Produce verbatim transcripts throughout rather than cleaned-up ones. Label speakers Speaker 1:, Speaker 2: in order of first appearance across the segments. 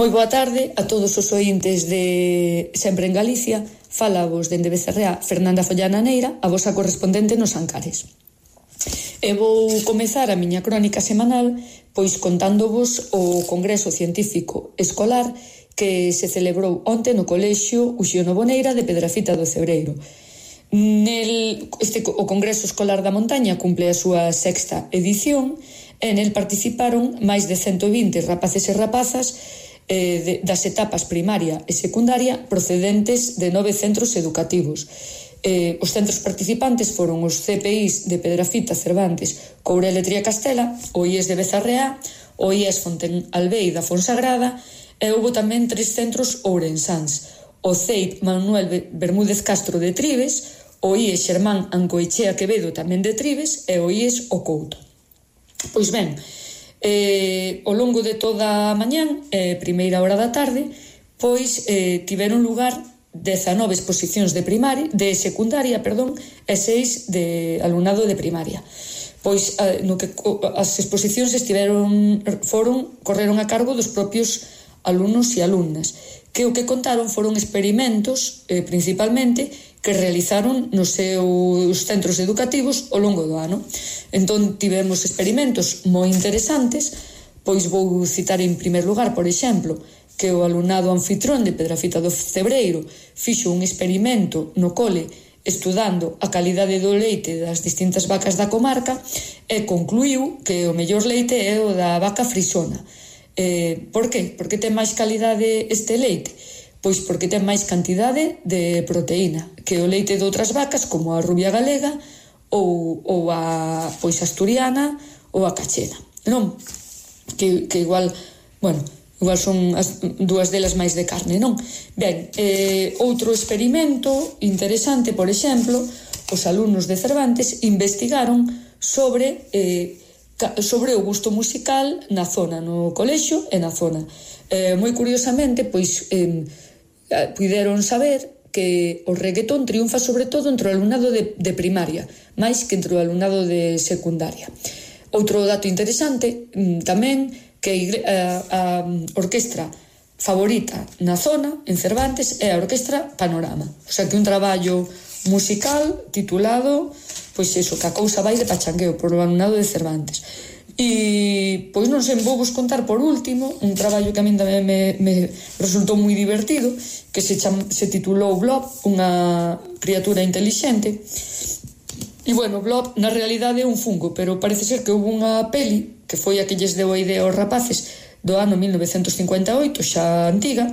Speaker 1: Moi boa tarde a todos os ointes de Sempre en Galicia. Fala vos dende Becerrea Fernanda Follana Neira, a vosa correspondente nos Ancares. E vou comezar a miña crónica semanal pois contándovos o Congreso Científico Escolar que se celebrou onte no Colexio Uxío Novoneira de Pedrafita do Cebreiro. Nel, este, o Congreso Escolar da Montaña cumple a súa sexta edición e nel participaron máis de cento vinte rapaces e rapazas eh, de, das etapas primaria e secundaria procedentes de nove centros educativos. Eh, os centros participantes foron os C P Is de Pedrafita, Cervantes, Courel e Triacastela, o I E S de Bezarreá, o I E S Fontenalbei da Fonsagrada e houve tamén tres centros ourensáns, o C E I P Manuel Bermúdez Castro de Tribes, o I E S Xermán Ancoechea Quevedo tamén de Tribes e o I E S O Couto. Pois ben, eh, ao longo de toda a mañán, eh, primeira hora da tarde, pois eh, tiveron lugar dezanove exposicións de primaria, de secundaria, perdón, e seis de alumnado de primaria. Pois eh, no que as exposicións estiveron foron correron a cargo dos propios alumnos e alumnas, que o que contaron foron experimentos, eh, principalmente, que realizaron nos seus centros educativos ao longo do ano. Entón, tivemos experimentos moi interesantes, pois vou citar en primer lugar, por exemplo, que o alumnado anfitrón de Pedrafita do Cebreiro fixo un experimento no cole estudando a calidade do leite das distintas vacas da comarca e concluiu que o mellor leite é o da vaca frisona. Eh, por que? Por que ten máis calidade este leite? Pois porque ten máis cantidade de proteína que o leite de outras vacas como a rubia galega ou, ou a pois asturiana ou a cachena, non? Que, que igual, bueno, igual son as dúas delas máis de carne, non? Ben, eh, outro experimento interesante, por exemplo, os alumnos de Cervantes investigaron sobre eh, sobre o gusto musical na zona, no colexio e na zona. Eh, moi curiosamente, pois eh, puideron saber que o reggaetón triunfa sobre todo entre o alumnado de, de primaria, máis que entre o alumnado de secundaria. Outro dato interesante tamén, que a, a orquestra favorita na zona, en Cervantes, é a Orquestra Panorama. O sea que un traballo musical titulado, pois eso, que a cousa vai de pachangueo por o alumnado de Cervantes. E, pois non sei, vou vos contar por último un traballo que a min tamén me, me resultou moi divertido, que se, cham, se titulou Blob, unha criatura intelixente. E, bueno, Blob na realidade é un fungo, pero parece ser que houve unha peli, que foi a que lles deu a idea aos rapaces do ano mil novecentos cincuenta e oito, xa antiga,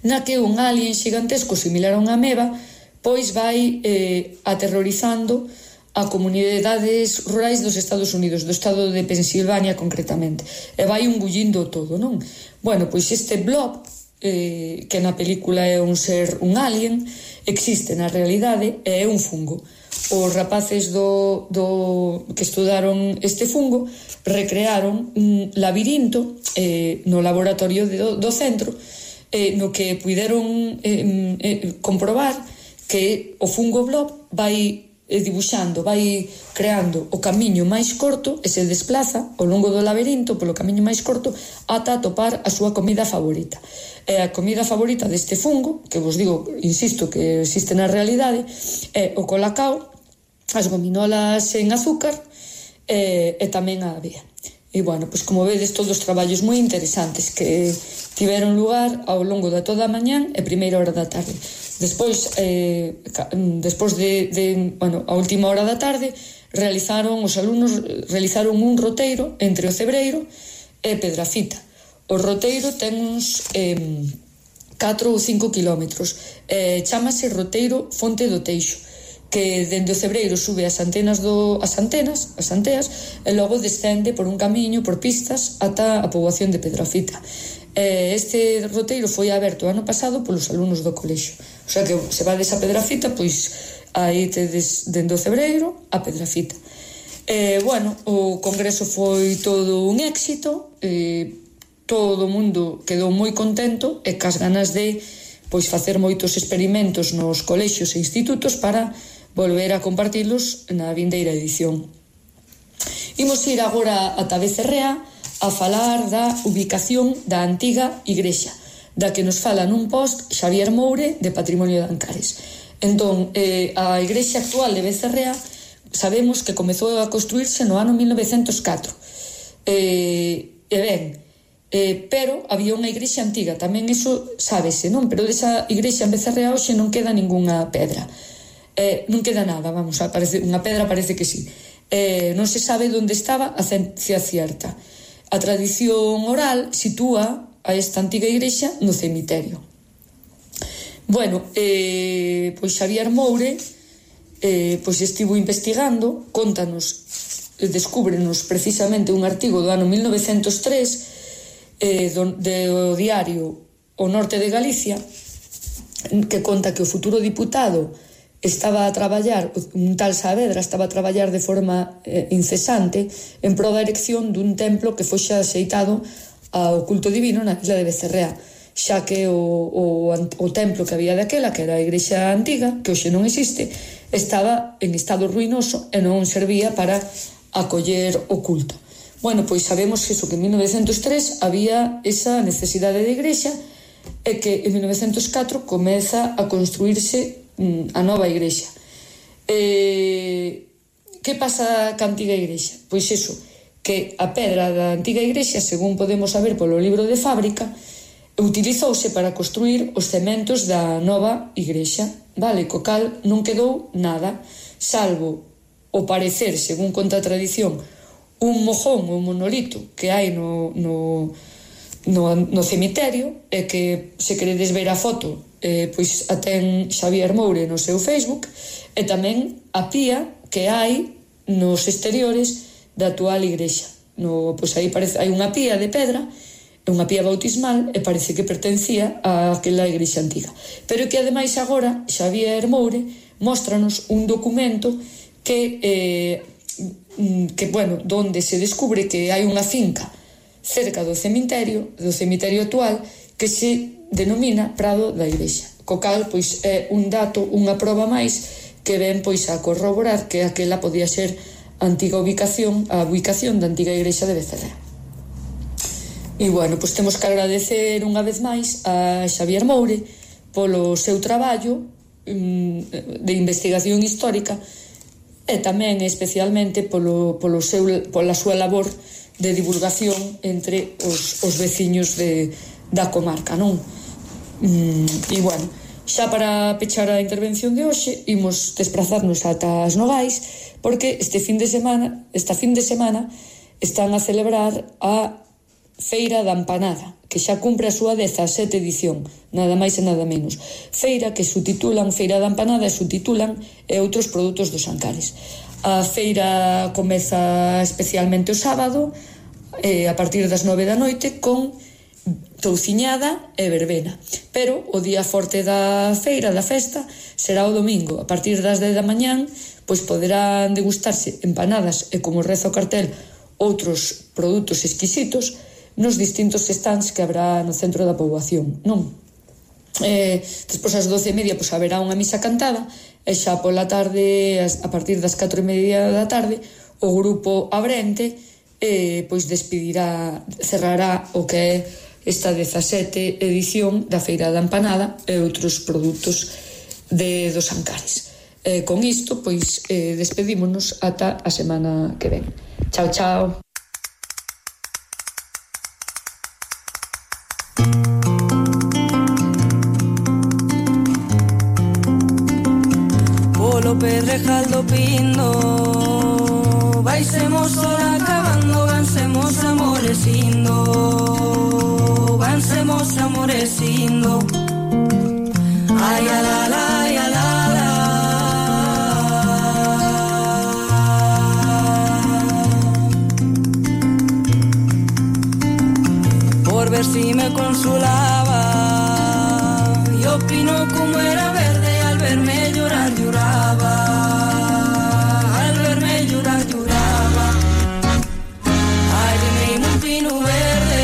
Speaker 1: na que un alien xigantesco similar a unha ameba pois vai eh, aterrorizando a comunidades rurais dos Estados Unidos, do estado de Pensilvania concretamente, e vai engullindo todo, non? Bueno, pois este Blob, eh, que na película é un ser, un alien, existe na realidade e é un fungo. Os rapaces do, do que estudaron este fungo recrearon un labirinto eh, no laboratorio de, do, do centro, eh, no que puideron eh, eh, comprobar que o fungo Blob vai dibuixando, vai creando o camiño máis corto e se desplaza ao longo do laberinto polo camiño máis corto ata atopar a súa comida favorita. E a comida favorita deste fungo, que vos digo, insisto, que existe na realidade, é o colacao, as gominolas en azúcar e, e tamén a avea. E, bueno, pois como vedes, todos os traballos moi interesantes que tiveron lugar ao longo de toda a mañán e primeira hora da tarde. Despois, eh, despois de, de, bueno, a última hora da tarde, realizaron, os alumnos realizaron un roteiro entre o Cebreiro e Pedrafita. O roteiro ten uns eh, catro ou cinco kilómetros. Eh, chámase roteiro Fonte do Teixo, que dende o Cebreiro sube as antenas do as antenas, as anteas, e logo descende por un camiño, por pistas, ata a poboación de Pedrafita. Eh, este roteiro foi aberto ano pasado polos alumnos do colexio. O sea que se vades a Pedrafita, pois aí tedes dende o Cebreiro a Pedrafita. Eh, bueno, o congreso foi todo un éxito, eh, todo o mundo quedou moi contento e cas ganas de pois facer moitos experimentos nos colexios e institutos para volver a compartilos na vindeira edición. Imos ir agora ata Becerrea a falar da ubicación da antiga igrexa, da que nos fala nun post Xavier Moure de Patrimonio de Ancares. Entón, eh, a igrexa actual de Becerrea sabemos que comezou a construirse no ano mil novecentos catro. Eh, e ben, eh, pero había unha igrexa antiga, tamén iso sábese, non? Pero desa igrexa en Becerrea hoxe non queda ningunha pedra. Eh, non queda nada, vamos, aparece, unha pedra parece que sí. Eh, non se sabe onde estaba a ciencia cierta. A tradición oral sitúa a esta antiga igrexa no cemiterio. Bueno, eh, pois Xavier Moure eh, pois estivo investigando, contanos, descúbrenos precisamente un artigo do ano mil novecentos tres eh, do, do diario O Norte de Galicia, que conta que o futuro diputado estaba a traballar, un tal Saavedra estaba a traballar de forma eh, incesante en pro da erección dun templo que foxe axeitado ao culto divino na isla de Becerrea, xa que o, o, o templo que había daquela, que era a igrexa antiga, que hoxe non existe, estaba en estado ruinoso e non servía para acoller o culto. Bueno, pois sabemos eso, que en mil novecentos tres había esa necesidade de igrexa e que en mil novecentos catro comeza a construirse a nova igrexa. Eh, que pasa ca antiga igrexa? Pois iso, que a pedra da antiga igrexa, según podemos saber polo libro de fábrica, utilizouse para construir os cementos da nova igrexa, vale? Co cal non quedou nada, salvo o parecer, según conta a tradición, un mojón ou monolito que hai no, no, no, no cemiterio, e que se queredes ver a foto, eh, pois a ten Xavier Moure no seu Facebook, e tamén a pía que hai nos exteriores da actual igrexa. No, pois aí parece, hai unha pía de pedra, unha pía bautismal, e parece que pertencía a aquela igrexa antiga. Pero que ademais agora Xavier Moure móstranos un documento que, eh, que bueno, donde se descubre que hai unha finca cerca do cemiterio, do cemiterio actual, que se denomina Prado da Igrexa, co cal pois é un dato, unha proba máis que ven pois a corroborar que aquela podía ser a antiga ubicación, a ubicación da antiga igrexa de Becerrea. E bueno, pois temos que agradecer unha vez máis a Xavier Moure polo seu traballo de investigación histórica e tamén especialmente polo, polo seu, pola súa labor de divulgación entre os, os veciños de, da comarca, non? E bueno, xa para pechar a intervención de hoxe, imos desplazarnos ata as Nogais, porque este fin de semana, esta fin de semana, están a celebrar a Feira da Empanada, que xa cumpre a súa dezasete edición, nada máis e nada menos. Feira que subtitulan Feira da Empanada e subtitulan e outros produtos dos Ancares. A feira comeza especialmente o sábado, eh, a partir das nove da noite, con touciñada e verbena. Pero o día forte da feira, da festa, será o domingo. A partir das dez da mañán, pois poderán degustarse empanadas e, como reza o cartel, outros produtos exquisitos nos distintos stands que habrá no centro da poboación, non? Eh, despois ás doce e media pois haberá unha misa cantada e xa pola tarde, a partir das catro e media da tarde, o grupo Abrente eh, pois despedirá, cerrará o que é esta dezasete edición da Feira da Empanada e outros produtos de dos Ancares. Eh, con isto, pois, eh, despedímonos ata a semana que ven. Chao, chao.
Speaker 2: Polo Pedrejal do Pindo vaisemos sola acabando, vansemos amorecindo, vansemos amorecindo. Ai, alala, ai, alala. Por ver si me consolaba, y opino como era verde, al verme llorar lloraba, al verme llorar lloraba. Ay, de mí un pino verde.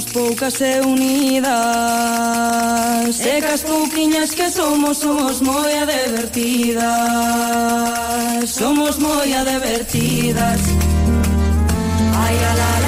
Speaker 2: somos poucas e unidas, e cas pouquiñas que somos, somos moi divertidas, somos moi divertidas. Ai, ala,